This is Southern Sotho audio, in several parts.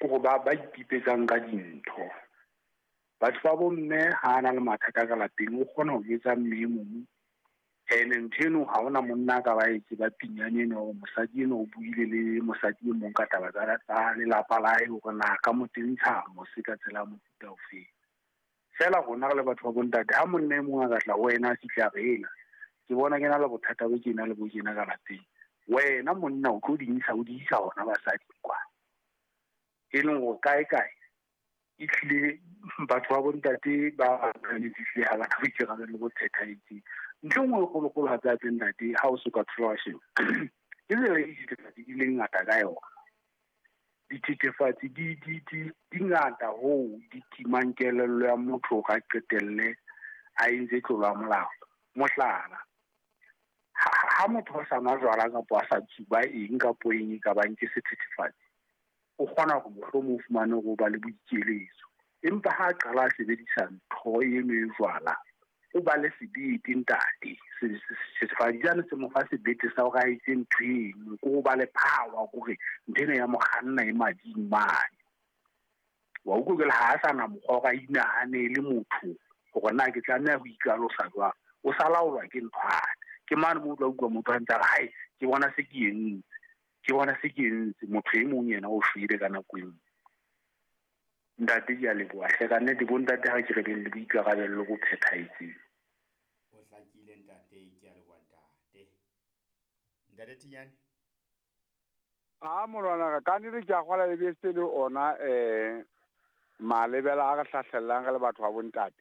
Hore ba ipipetsang ka dintho. Batho ba bomme ha na le mathata ka lapeng, o kgona ho jwetsa mme e mong. Ene ntho eno ha hona monna a ka ba e tseba pinyane eno hore mosadi eno o buile le mosadi e mong ka taba tsa lelapa la hae hore na ka mo tentsha mose ka tsela ya mofuta ofeng. Feela rona re le batho ba bontate, ha monna e mong a ka tla ho wena a fihla a re ela, ke bona ke na le bothata bo tjena le bo tjena ka lapeng. Wena monna o tlo di ntsha o di isa hona basading kwa. E leng hore kae kae e hlile batho ba bontate ba ehlile ha bana boikarabelo bo phethahetseng. Ntho e nngwe e kgolokgolo hape hape ntate, ha o so ka thola wa sheba, ke tsela e dithethefatsi di leng ngata ka yona. Dithethefatsi di ngata hoo di timang kelello ya motho hore a qetelle a entse tlolo ya molao. Mohlala, ha motho a sa nwa jwala kapa a sa tsuba eng kapo eng e ka bang ke sethethefatsi, o kgona hore mohlomong o fumane hore o ba le boikeletso. Empa ha a qala a sebedisa ntho eno e jwala, o ba le sebete ntate. Sethethefatsi sane se mo fa sebete sa hore a etse ntho eno, ke ho ba le power hore ntho ena ya mo kganna e mading mane. Wa utlwa jwale ha a sa na mokgwa wa hore a inahanele motho hore na ke tlameha ho ikalosa jwang. O sa laolwa ke nthwane. Ke mane moo o tla utlwa motho a ntse a re, hai, ke bona se ke entse. Ke bona se ke entse. Motho e mong yena o shwele ka nako eo. Ntate, ke a leboha hle. Ka nnete bo ntate ha ke re beng le boikarabello bo phethahetseng. O hlakile ntate, ke a leboha ntate. Ntate Thinyane? A molwana ka nnete ke a kgola le bese le ona malebela a re hlahlellang re le batho ba bontate.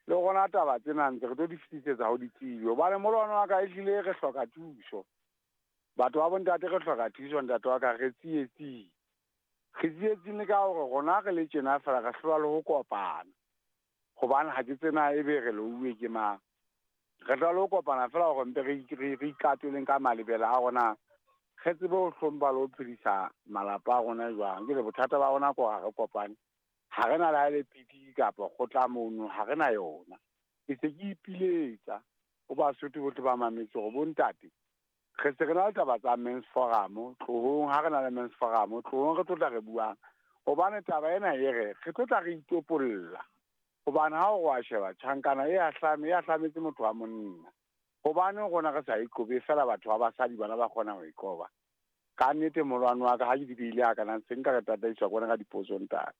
Le rona taba tsena ntse re tlo di fetisetsa ho ditsebi. Hobane molwana wa ka ehlile re hloka thuso. Batho ba bontate re hloka thuso ntate wa ka, re tsietsing. Re tsietsing le ka hore rona re le tjena fela re hlolwa le ho kopana. Hobane ha ke tsena ebe re louwe ke mang. Re hlolwa le ho kopana fela hore mpe re ikatoleng ka malebela a rona. Re tsebe ho hlompha le ho phedisa malapa a rona jwang. Ke re bothata ba rona ke hore ha re kopane. Ha re na le ha e le piki kapa kgotla mono, ha re na yona. Ke se ke ipiletsa ho Basotho bohle ba mametse hore bontate, re se re na le taba tsa men's forum, tlohong ha re na le men's forum, tlohong re tlo tla re buang. Hobane taba ena e re, re tlo tla re itopolla. Hobane ha o wa sheba tjhankana e ahlame, e ahlametse motho wa monna. Hobane rona re sa e qobe fela batho ba basadi bana ba kgona ho e qoba. Ka nnete molwano wa ka ha ke di beile ha kana se nka re tataiswa ke bona ka dipotso ntate.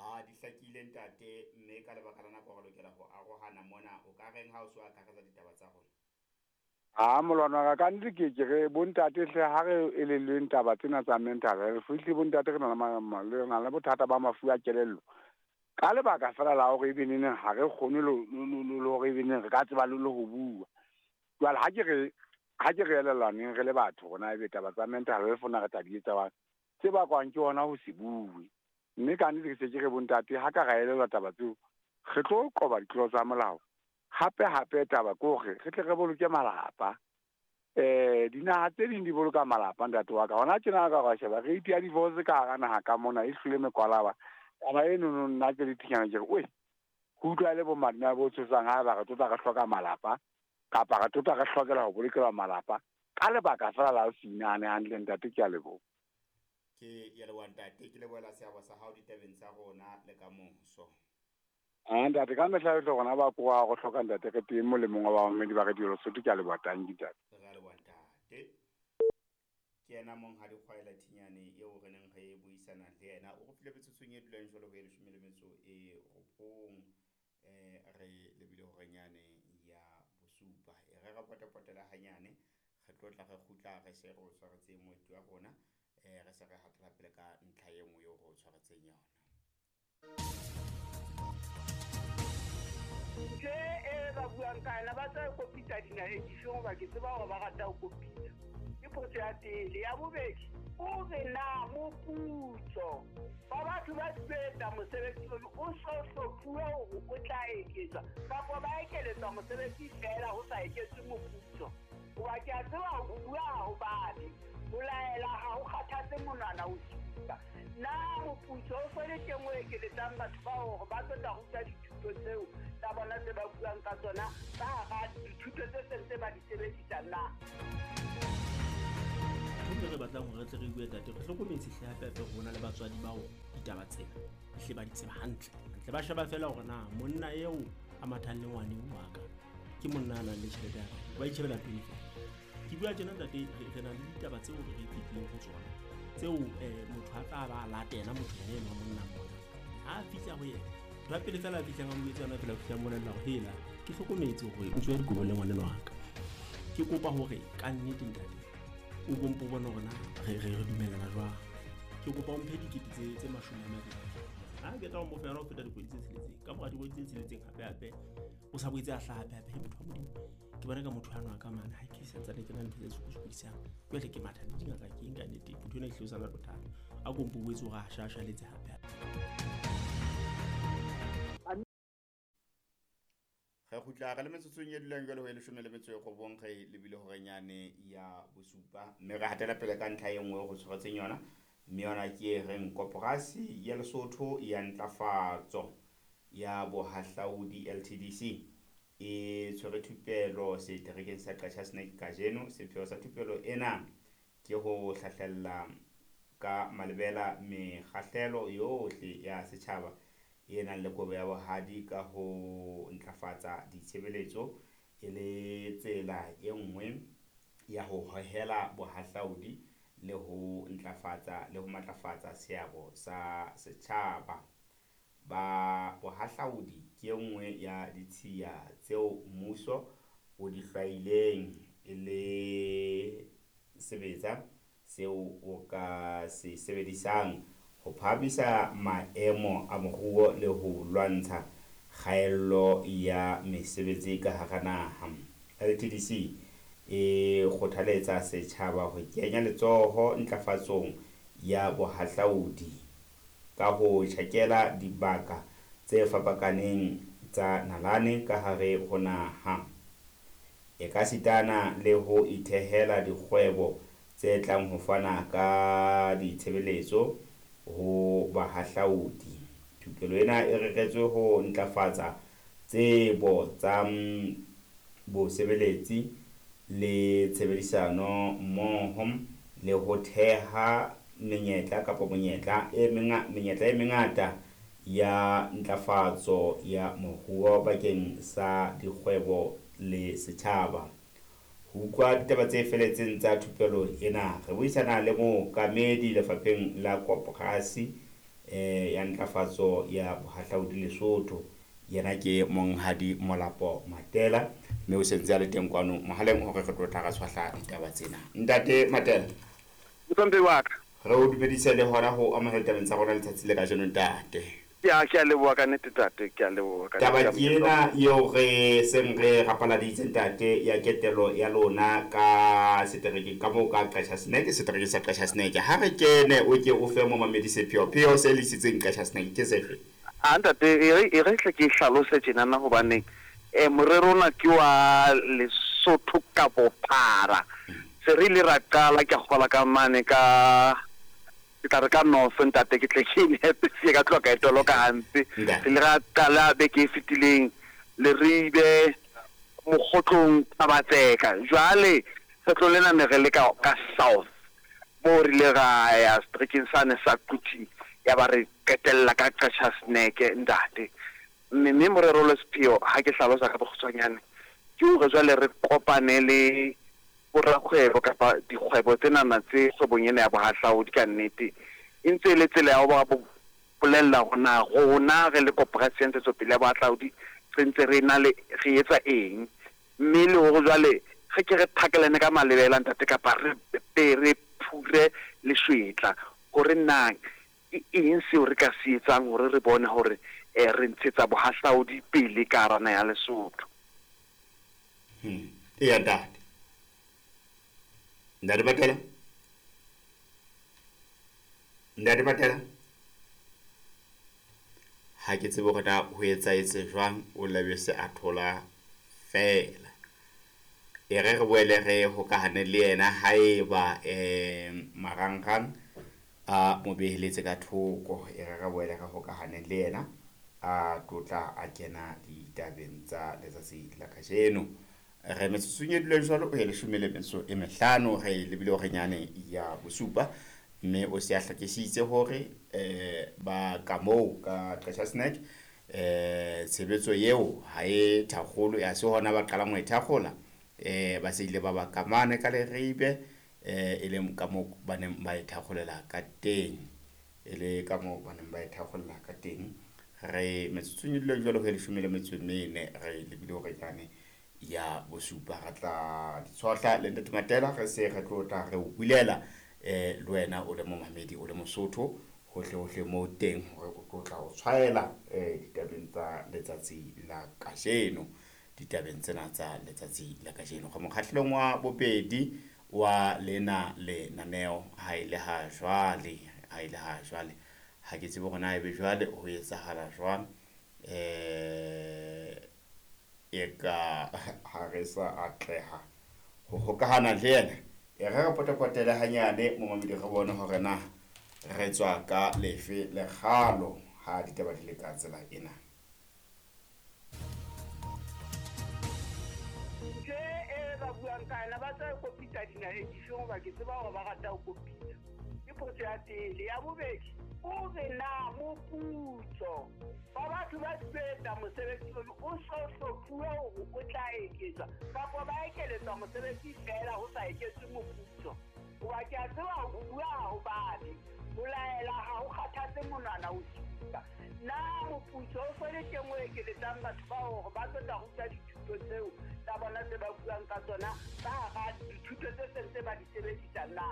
A di hlakile ntate, mme ka lebaka la nako re lokela ho arohana mona. O ka reng ha o so akaretsa ditaba tsa rona? A molwano wa ka, ka nnete ke re bontate hle ha re elellweng taba tsena tsa mental health. Ehlile bontate re na le re na le bothata ba mafu a kelello. Ka lebaka fela la hore ebe neneng ha re kgone le hore ebe neng re ka tseba le ho bua. Jwale ha ke re elellwaneng re le batho rona ebe taba tsa mental health rona re tla di etsa jwang? Tse bakwang ke hona ho se bue. Mme ka nnete ke se ke re bontate ha ka ra elellwa taba tseo, re tlo qoba ditlolo tsa molao. Hape hape taba ke hore re tle re boloke malapa. Dinaha tse ding di boloka malapa ntate wa ka. Hona tjena ka wa sheba rate ya divorce ka hara naha ka mona e hlile mekwalaba. Taba eno no nna ke le Thinyane ke re, oe, ho utlwa le bo madima bo tshosang ha ba re tlo tla re hloka malapa kapa re tlo tla re hlokela ho bolokelwa malapa ka lebaka fela la ho se inahane hantle ntate, ke a leboha. Ke ya leboha ntate, ke lebohela seabo sa hao ditabeng tsa rona le ka moso. A ntate, ka mehla yohle rona ba koa go hloka ntate re teng molemong wa bamamedi ba Radio Lesotho, ke a leboha tanki ntate. Re a leboha ntate. Ke yena Monghadi Kgwaela Thinyane eo re neng re buisana le yena. O re file metsotsong e dulang jwalo ho e 19. Re lebile horenyane ya bosupa. E re re potapotela hanyane, re tlo tla re kgutla re se re o tshwaretse moeti wa rona. Re se re hatela pele ka ntlha e nngwe eo re o tshwaretseng yona. Ntho e ba buang ka yona, ba tla kopitsa dinaheng dife hoba ke tseba hore ba rata ho kopitsa. Ke potso ya pele. Ya bobedi, o re na moputso wa batho ba sebetsa mosebetsi ono o so hlophuwe hore o tla eketswa kapa ba ekeletswa mosebetsi feela ho sa eketswe moputso. Hoba ke a tseba ho bua ha ho babe, ho laela ha ho kgathatse monwana ho supa. Na moputso o so le teng o ekeletsang batho bao hore ba tlo tla ruta dithuto tseo tsa bona tse ba buang ka tsona ka hara dithuto tse seng tse ba di sebedisang na? Ntho e re batlang hore re tle re bue tate, re hlokometse hle hape hape hore ho na le batswadi bao ditaba tsena ehle ba di tseba hantle. Hantle ba sheba feela hore na monna eo a mathang le ngwane wa ka ke monna a nang le tjhelete ya kae, ba itjhebela pele feela. Ke bua tjena ntate, re na le ditaba tseo re fetileng ho tsona tseo motho a tla ba a latela motho yena enwa monna mona. Ha a fihla ho yena, ntho ya pele feela a fihlang a mo jwetsa yona feela, o fihla a mmolella hore hela ke hlokometse hore o tswa dikobo le ngwaneno wa ka. Ke kopa hore ka nnete ntate o kompo bone hore na re dumellana jwang. Ke kopa o mphe dikete tse 20. Ha ke tla o mo fa yona ho feta dikgwedi tse tsheletseng. Ka mora dikgwedi tse tsheletseng hape hape o sa boetse a hlaha hape hape. He motho wa Modimo, ke bona ka motho ano a ka mane ha ke santsane ke na le ntho tse sokodisang. Jwale ke matha le dingaka ke eng ka nnete, motho ena ehlile o sa na le bothata. A kompo o boetse hore a shashaletse hape hape. Re kgutla re le metsotsong e dulang jwale ho e 19 re lebile horenyane ya bosupa, mme re hatela pele ka ntlha e nngwe go tshwaretseng yona, mme yona ke e reng Koporasi ya Lesotho ya Ntlafatso ya Bohahlaudi LTDC e tshwere thupelo seterekeng sa Qacha's Nek kajeno. Sepheo sa thupelo ena ke ho hlahlella ka malebela mekgahlelo yohle ya setjhaba e nang le kobo ya bohadi ka ho ntlafatsa ditshebeletso e le tsela e nngwe ya ho hohela bohahlaudi le ho ntlafatsa le ho matlafatsa seabo sa setjhaba. Ba bohahlaudi ke e nngwe ya ditshiya tseo mmuso o di hlwaileng e le sebetsa seo o ka se sebedisang ho phahamisa maemo a moruo le ho lwantsha kgaello ya mesebetsi ka hara naha. LTDC e kgothaletsa setjhaba ho kenya letsoho ntlafatsong ya bohahlaudi ka ho tjhakela dibaka tse fapakaneng tsa nalane ka hare ho naha. E ka sitana le ho ithehela dikgwebo tse tlang ho fana ka ditshebeletso ho bahahlaudi. Thupelo ena e reretswe ho ntlafatsa tsebo tsa bosebeletsi le tshebedisano mmoho le ho theha menyetla kapa monyetla e menyetla e mengata ya ntlafatso ya moruo bakeng sa dikgwebo le setjhaba. Ho utlwa ditaba tse feletseng tsa thupelo ena, re buisana le mookamedi lefapheng la Koporasi ya Ntlafatso ya Bohahlaudi Lesotho. Yena ke Monghadi Molapo Matela, mme o sentse a le teng kwano mohaleng hore re tlo tla ra tshwahla ditaba tsena. Ntate Matela, Motswampe wa ka, re o dumedise le hona ho amohela tabeng tsa rona letsatsi le kajeno ntate. Ya, ke a leboha ka nnete tate, ke a leboha ka Taba ke ena eo re seng re rapaladitse ntate ya ketelo ya lona ka seterekeng ka moo ka Qacha's Nek, seterekeng sa Qacha's Nek. Ha re kene o ke o fe momamedi sepheo, pheo se lisitseng Qacha's Nek ke sefe? A ntate, e re tle ke hlalose tjenana hobane morero ona ke wa Lesotho ka bophara. Se re ile ra qala ke kgola ka mane ka ke tla re ka north ntate, ke tle ke nepe se ka tloha ka e toloka hampe. Re ile ra qala beke e fetileng Leribe, Mokgotlong, Thabatseka. Jwale kgetlo lena ne re le ka south moo re ile ra ya seterekeng sane sa Quthing, ya ba re qetella ka Qacha's Nek ntate. Mme morero le sepheo ha ke hlalosa ka bokgutshwanyane ke hore jwale re kopane le borakgwebo kapa dikgwebo tsenana tse kgwebong ena ya bohahlaudi ka nnete. E ntse e le tsela ya ho ba bolella hore na rona re le koporasi ya ntshetsopele ya bohahlaudi re ntse re na le re etsa eng, mme le hore jwale re ke re thakelane ka malebela ntate kapa re be re phure leshwetla hore na ke eng seo re ka se etsang hore re bone hore re ntshetsa bohahlaudi pele ka hara naha ya Lesotho. Eya ntate. Ntate Matela? Ntate Matela? Ha ke tsebe hore na ho etsahetse jwang, o labe se a thola feela. E re re boele re hokahane le yena haeba marangrang a mo beheletse ka thoko. E re re boele re hokahane le yena a tlotla a kena ditabeng tsa letsatsi la kajeno. Re metsotsong e duleng jwalo o ye 15 re lebile hore nyane ya bosupa, mme o se a hlakisitse hore ba ka moo ka Qacha's Nek tshebetso eo ha e thakgolo, ya se hona ba qalang ho e thakgola, ba se ile ba ba kamane ka Leribe, e leng ka moo ba neng ba e thakgolela ka teng, e le ka moo ba neng ba e thakgolela ka teng. Re metsotsong e duleng jwalo ho ye 14 re lebile hore nyane ya bosupa. Re tla ditshohla le Ntate Matela, re se re tlo tla re o bulela le wena o le momamedi, o le Mosotho hohle hohle moo teng, hore o tlo tla o tshwaela ditabeng tsa letsatsi la kajeno, ditabeng tsena tsa letsatsi la kajeno. Re mokgahlelong wa bobedi wa lena lenaneo ha e le ha jwale, ha e le ha jwale ha ke tsebe hore na ebe jwale ho etsahala jwang, e ka ha re sa atleha ho hokahana le yena. E re re potapotele hanyane momamedi, re bone hore na re tswa ka lefe lekgalo ha ditaba di le ka tsela ena. Ntho e ba buang ka yona ba tla kopitsa dinaheng difeng, hoba ke tseba hore ba rata ho kopitsa. Ke potso ya pele. Ya bobedi, o re na moputso wa batho ba sebetsa mosebetsi ono o so hlophuwe hore o tla eketswa, kapa ba ekeletswa mosebetsi feela ho sa eketswe moputso? Hoba ke a tseba ho bua ha ho babe, ho laela ha ho kgathatse monwana o supa. Na moputso o so le teng o ekeletsang batho ba hore ba tlo tla ruta dithuto tseo tsa bona tse ba buang ka tsona ka hara dithuto tse seng tse ba di sebedisang na?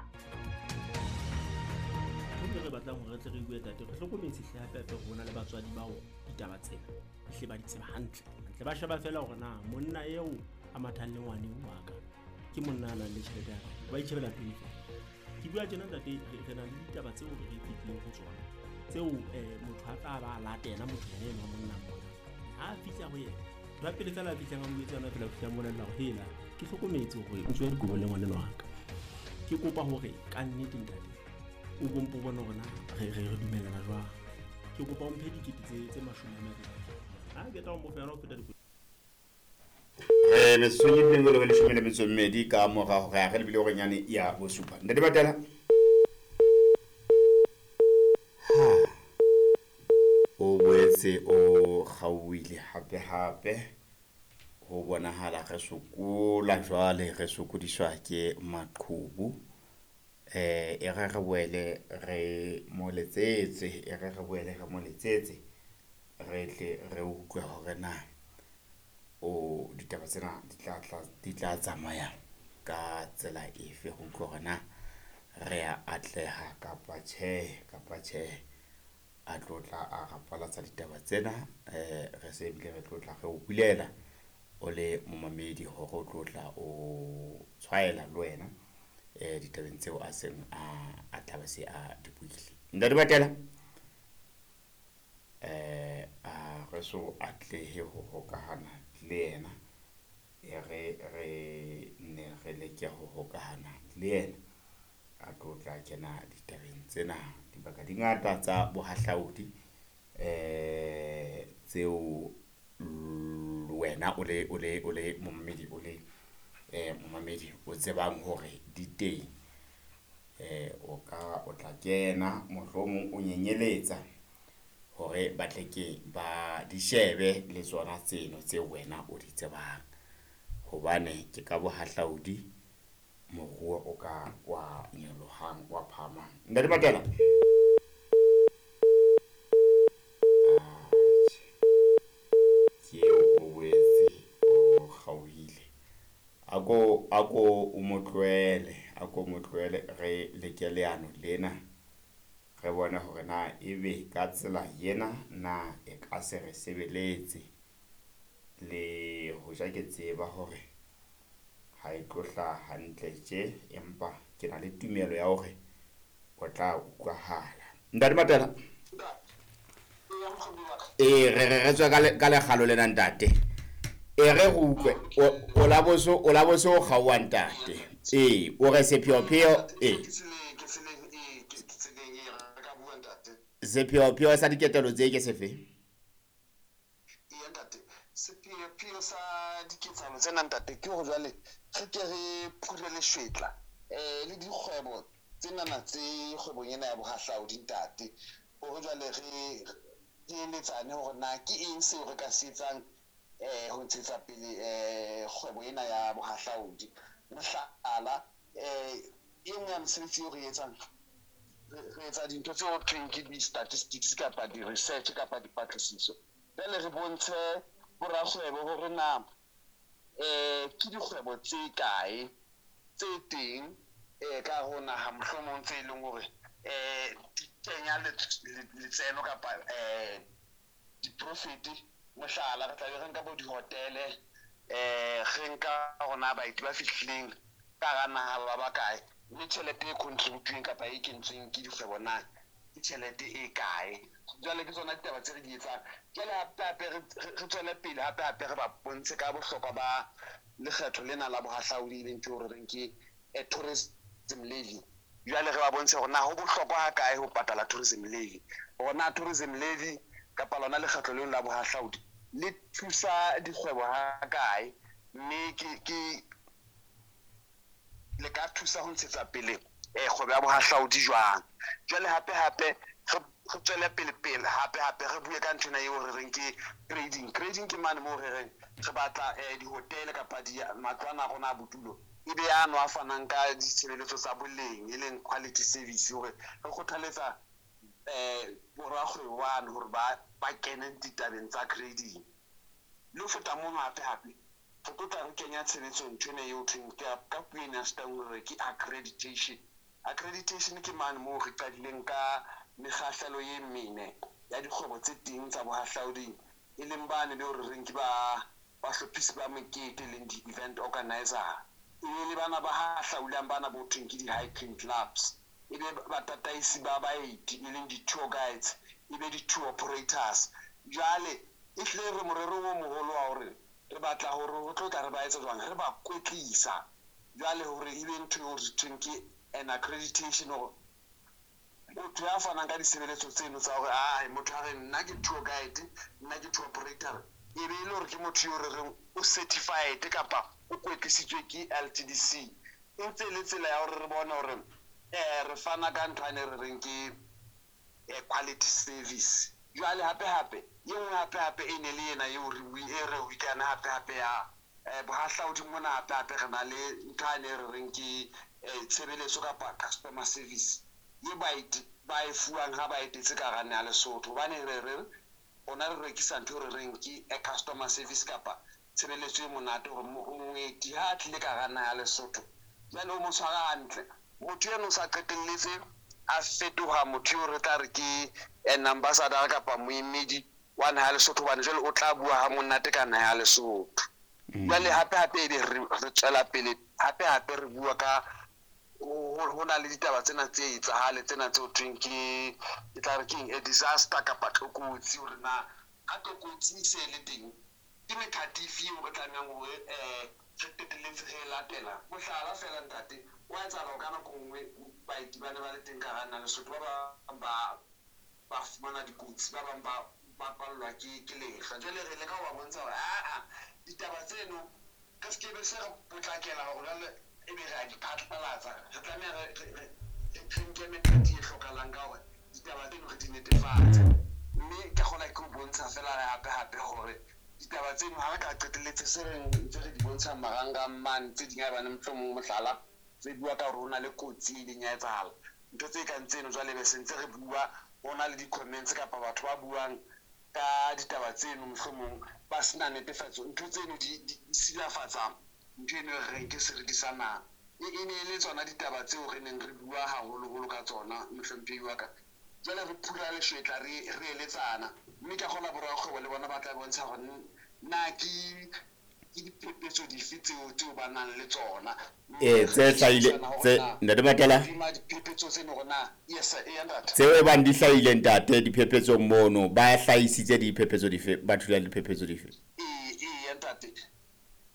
Ntho e re batlang hore re tle re bue tate, re hlokometse hle hape hape hore ho na le batswadi bao ditaba tsena ehlile ba di tseba hantle hantle. Ba sheba feela hore na monna eo a mathang le ngwaneng wa ka ke monna a nang le tjhelete ya hae, ba itjhebela pele feela. Ke bua tjena ntate, re na le ditaba tseo re fetileng ho tsona tseo motho a tla ba a latela motho yena enwa monna mona. Ha a fihla ho yena, ntho ya pele feela a fihlang a mo jwetsa yona feela, o fihla a mmolella hore hela ke hlokometse hore o tswa dikobo le ngwanenwa wa ka. Ke kopa hore ka nnete ntate o bompo bone hore na re dumellana jwang. Ke kopa o mphe dikete tse 20. Ha ke tla o mo fa yona ho feta dikete. Re metsotsong e bileng le 12 ka mora hore re lebile hore nyane ya bosupa. Ntate Matela, o boetse o kgaohile hape hape, ho bonahala re sokola jwale, re sokodiswa ke maqhubu. E re re boele re mo letsetse, e re re boele re mo letsetse, re tle re utlwe hore na o ditaba tsena di tla tsamaya ka tsela efe, ho utlwa hore na re a atleha kapa tjhe, kapa tjhe. A tlo tla a rapalatsa ditaba tsena, re se ebile re tlo tla re o bulela o le momamedi hore o tlo tla o tshwaela le wena ditabeng tseo a seng a tla ba se a di buile. Ntate Matela, a re so atlehe ho hokahana le yena, e re re ne re leke ho hokahana le yena a tlo tla kena ditabeng tsena. Dibaka di ngata tsa bohahlaudi tseo wena o le momamedi, o le momamedi o tsebang hore di teng, o ka o tla kena mohlomong o nyenyeletsa hore ba tle ke ba di shebe le tsona tseno tse wena o di tsebang, hobane ke ka bohahlaudi moruo o ka wa nyolohang wa phahamang. Ntate Matela, ke o boetse o kgaohile. Ako o mo tlohele, ako mo tlohele, re leke leano lena, re bone hore na ebe ka tsela ena na e ka se re sebeletse. Le hoja ke tseba hore ha e tlo hlaha hantle tje, empa ke na le tumelo ya hore o tla utlwahala. Ntate Matela, re tswa ka lekgalo lena ntate. E re re utlwe o la boso o kgaoha ntate. O re sepheopheo sepheopheo sa diketelo tse ke sefe? Ntate, sepheopheo sa diketsahalo tsena ntate ke hore jwale re ke re phure leshwetla le dikgwebo tsenana tse kgwebong ena ya bohahlaudi ntate, hore jwale re eletsane hore na ke eng seo re ka se etsang ho ntshetsa pele kgwebo ena ya bohahlaudi. Mohlala, e nngwe ya mesebetsi eo re etsang, re etsa dintho tseo ho thweng ke di-statistics kapa di-research kapa dipatlisiso. Jwale re bontshe borakgwebo hore na ke dikgwebo tse kae tse teng ka hare ho naha, mohlomong tse leng hore di kenya letseno kapa di-profit. Mohlala, re tla be re nka bo dihotele, re nka hore na baeti ba fihlileng ka hara naha ba bakae, mme tjhelete e contribute-weng kapa e kentsweng ke dikgwebo na ke tjhelete e kae. Jwale ke tsona ditaba tse re di etsang. Jwale hape hape re tswele pele, hape hape re ba bontshe ka bohlokwa ba lekgetho lena la bohahlaudi, e leng ntho eo re reng ke tourism levy. Jwale re ba bontshe hore na ho bohlokwa ha kae ho patala tourism levy, hore na tourism levy kapa lona lekgetho leo la bohahlaudi le thusa dikgwebo ha kae, mme ke le ka thusa ho ntshetsa pele kgwebo ya bohahlaudi jwang. Jwale hape hape re tswele pele pele, hape hape re bue ka nthwena eo re reng ke grading. Grading ke mane moo re reng re batla dihotele kapa matlwana a rona a bodulo e be ano a fanang ka ditshebeletso tsa boleng, e leng quality service, hore re kgothaletsa borakgwebo bano hore ba kene ditabeng tsa grading. Le ho feta mono, hape hape re tlo tla re kenya tshebetsong nthwena eo thweng ka puo ena ya Setangu re ke accreditation. Accreditation ke mane moo re qadileng ka mekgahlelo e mene ya dikgwebo tse teng tsa bohahlauding, e leng bane beo re reng ke ba bahlophisi ba mekete, e leng di-event organizer, e be le bana ba hahlaulang bana bo thweng ke di-hiking clubs, e be batataisi ba baeti, e leng di-tour guides, e be di-tour operators. Jwale e hlile re morerong o moholo wa hore re batla hore ho tlo tla re ba etsa jwang, re ba kwetlisa jwale hore e be ntho eo re thweng ke an accreditation, hore motho ya fanang ka ditshebeletso tseno tsa hore ai motho a re nna ke tour guide, nna ke tour operator, e be e le hore ke motho eo re reng o certified kapa o kwetlisitswe ke LTDC. E ntse e le tsela ya hore re bone hore re fana ka ntho ane re reng ke quality service. Jwale hape hape e nngwe hape hape e ne le ena eo re e re buikana hape hape ya bohahlaudi mona, hape hape re na le ntho ane re reng ke tshebeletso kapa customer service ye baeti ba e fuwang ha ba etetse ka hara naha ya Lesotho. Hobane re re rona re rekisa ntho e re reng ke a customer service kapa tshebeletso e monate, hore moeti ha a tlile ka hara naha ya Lesotho jwale o mo tshwara hantle, motho eno o sa qetelletse a fetoha motho eo re tla re ke an ambassador kapa moemedi wa naha ya Lesotho, hobane jwale o tla bua ha monate ka naha ya Lesotho. Jwale hape hape ebe re tswela pele, hape hape re bua ka ho na le ditaba tsena tse etsahale tsena tse ho thweng ke tla re keng a disaster kapa tlokotsi, hore na ha tlokotsi e se le teng ke methati efe eo re tlamehang hore re qetelletse re e latela. Mohlala fela ntate, wa etsahala ka nako nngwe baeti ba ne ba le teng ka hara naha Lesotho, ba bang ba fumana dikotsi, ba bang ba pallwa ke lehlwa. Jwale re leka ho ba bontsha hore aa ditaba tseno re se ke be se re potlakela hore jwale ebe re a di phatlalatsa, re tlameha re nke methati e hlokahalang ka hore ditaba tseno re di netefatse. Mme ke kgona ke ho bontsha fela hape hape hore ditaba tseno ha re ka qetelletse se re ntse re di bontsha marangrang mane, tse ding haebane mohlomong mohlala re bua ka hore ho na le kotsi e ileng ya etsahala, ntho tse kang tseno jwale be se ntse re bua ho na le di-comments kapa batho ba buang ka ditaba tseno mohlomong ba sena netefatso, ntho tseno di silafatsa ntho eno e re reng ke seriti sa naha. E ne e le tsona ditaba tseo re neng re bua haholoholo ka tsona, mohlomphehi wa ka. Jwale re phura leshwetla re eletsana, mme ka kgona borakgwebo le bona ba tla bontsha hore na ke diphephetso dife tseo ba nang le tsona. Tse hlahile tse ntate Matela, diphephetso tseno hore na yes e ntate tseo e bang di hlahile ntate diphephetsong mono, ba hlahisitse diphephetso dife, ba thula diphephetso dife? Ee ntate,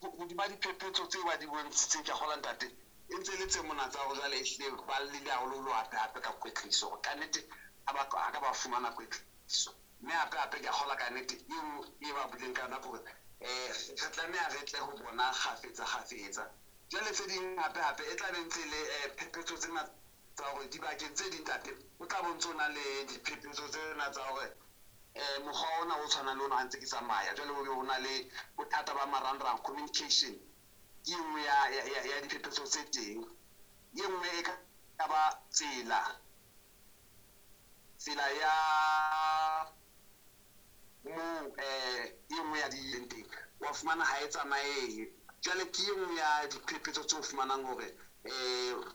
hodima diphephetso tseo ba di bontshitseng, ke a kgolwa ntate e ntse le tse mona tsa hore jwale ehlile ba llile haholoholo hape hape ka kwetliso, hore kannete ha ba ka ba fumana kwetliso. Mme hape hape ke a kgolwa kannete eo e ba buileng ka yona ke hore Re tlameha re tle ho bona kgafetsa kgafetsa. Jwale tse ding hape hape e tla be ntse le phephetso tsena tsa hore dibakeng tse ding tate o tla bo ntso na le diphephetso tsena tsa hore mokgwa ona o tshwanang le ona ha ntse ke tsamaya. Jwale ho be ho na le bothata ba marangrang, communication ke e nngwe ya diphephetso tse teng. E nngwe e ka ba tsela ya moo e nngwe ya di teng wa fumana ha e tsamaye. Jwale ke e nngwe ya diphephetso tse o fumanang hore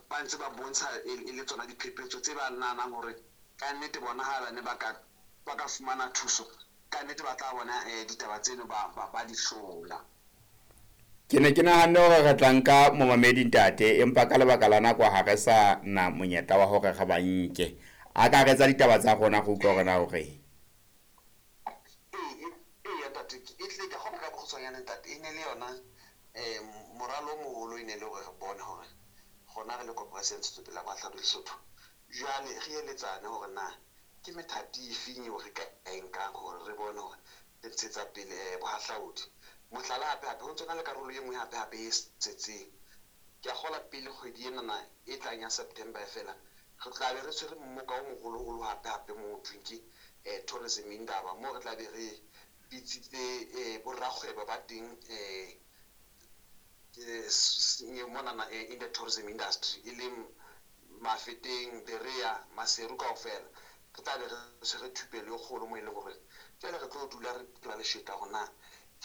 ba ntse ba bontsha e le tsona diphephetso tse ba nahanang hore ka nnete bona ha ba ne ba ka fumana thuso, ka nnete ba tla bona ditaba tseno ba di hlola. Ke ne ke nahanne hore re tla nka momamedi ntate, empa ka lebaka la nako ha re sa na monyetla wa hore re ba nke. A ka re tsa ditaba tsa rona go utlwa hore na o reng. Ee ntate, e tle ka kgona ka bokgutshwanyane ntate, e ne le yona moralo o moholo e ne le hore re bone hore rona re le koporasi ya Ntshetsopele ya Bohahlaudi Lesotho, jwale re eletsane hore na ke methati efeng eo re ka e nkang hore re bone hore re ntshetsa pele bohahlaudi. Mohlala hape hape ho ntso na le karolo e nngwe hape hape e setseng. Ke a kgola pele kgwedi enana e tlang ya September fela, re tla be re tshwere mmoka o moholoholo hape hape mo ho thweng ke tourism indaba, moo re tla be re bitsitse borakgwebo ba teng monana in the tourism industry, e leng Mafeteng, Berea, Maseru kaofela. Re tla be re tshwere thupelo e kgolo mo e leng hore jwale re tlo dula re phela lesheta hore na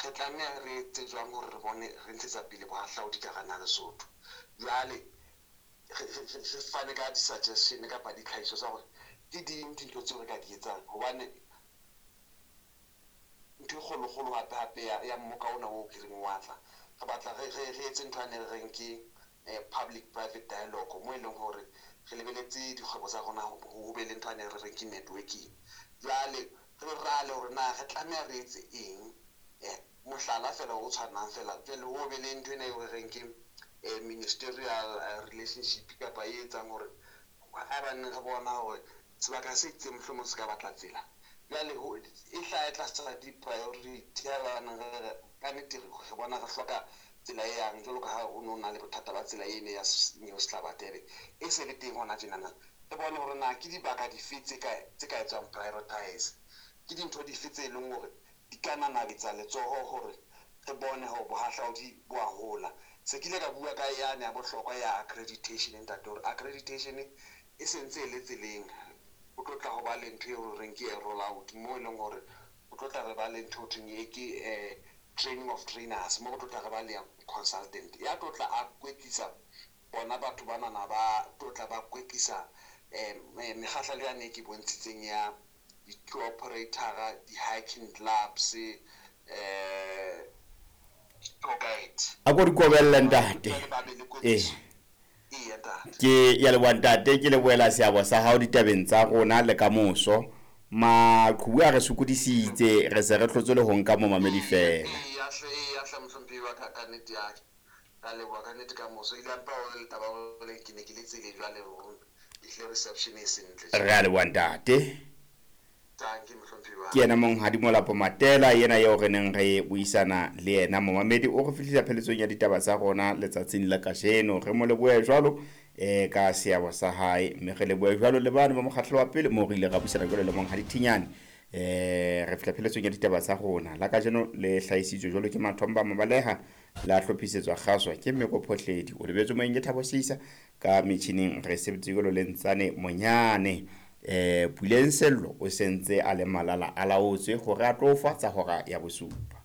re tlameha re etse jwang hore re bone re ntshetsa pele bohahlaudi ka hara naha Lesotho. Jwale re fane ka di-suggestion kapa ditlhahiso tsa hore ke ding dintho tseo re ka di etsang, hobane ntho e kgolokgolo hape hape ya mmoka ona o ke reng wa tla, re batla re etse ntho ane re reng ke public private dialogue, mo e leng hore re lebeletse dikgwebo tsa rona ho be le ntho ane re reng ke networking. Jwale re rale hore na re tlameha re etse eng, mohlala fela o tshwanang fela jwale ho be le ntho ena eo re reng ke ministerial relationship kapa e etsang hore ha ba neng re bona hore sebaka se itseng mohlomong se ka batla tsela, jwale e hlaha tlasa di-priority ha ba neng re ka nnete re bona re hloka tsela e yang, jwalo ka ha o no na le bothata ba tsela ene ya New Sehlabathebe e se le teng hona tjenana. Re bone hore na ke dibaka dife tse ka etswang prioritize, ke dintho dife tse leng hore di ka nanabetsa letsoho hore re bone hore bohahlaudi bo a hola. Se ke ile ka bua ka yane ya bohlokwa ya accreditation ntate, hore accreditation e sentse e le tseleng, o tlo tla ho ba le ntho eo re reng ke roll out, mo e leng hore o tlo tla re ba le ntho ho thweng e ke training of trainers, mo re tlo tla re ba le consultant ya tlo tla a kwetlisa bona batho banana ba tlo tla ba kwetlisa mekgahlelo yane e ke bontshitseng ya di-tour operator, di-hiking clubs, tour guide. A ko di kobelle ntate. Ke ya leboha ntate, ke lebohela seabo sa hao ditabeng tsa rona le kamoso. Maqhubu a re sokodisitse, re se re hlotse le ho nka momamedi fela. Ya hle mohlomphehi wa ka, ka nnete ya ka leboha ka nnete kamoso. Ile mpa o le taba hore ke ne ke le tseleng jwale ehlile reception e sentle. Re a leboha ntate. Ke yena monghadi Molapo Matela, yena eo re neng re buisana le yena. Momamedi o re fihlisa pheletsong ya ditaba tsa rona letsatsing la kajeno. Re mo lebohe jwalo ka seabo sa hae, mme re lebohe jwalo le bane ba mokgahlelo wa pele moo re ile ra buisana jwalo le monghadi Thinyane. Re fihla pheletsong ya ditaba tsa rona la kajeno, le hlahisitswe jwalo ke Mathomba Mabaleha, la hlophisetswa kgaswa ke Mmeko Phohledi, o lebetswe moyeng ke Thabo Seisa, ka metjhining re sebetse jwalo le Ntsane Monyane. Puleng Sello o sentse a le malala a laotswe hore a tlo fa tsa hora ya bosupa.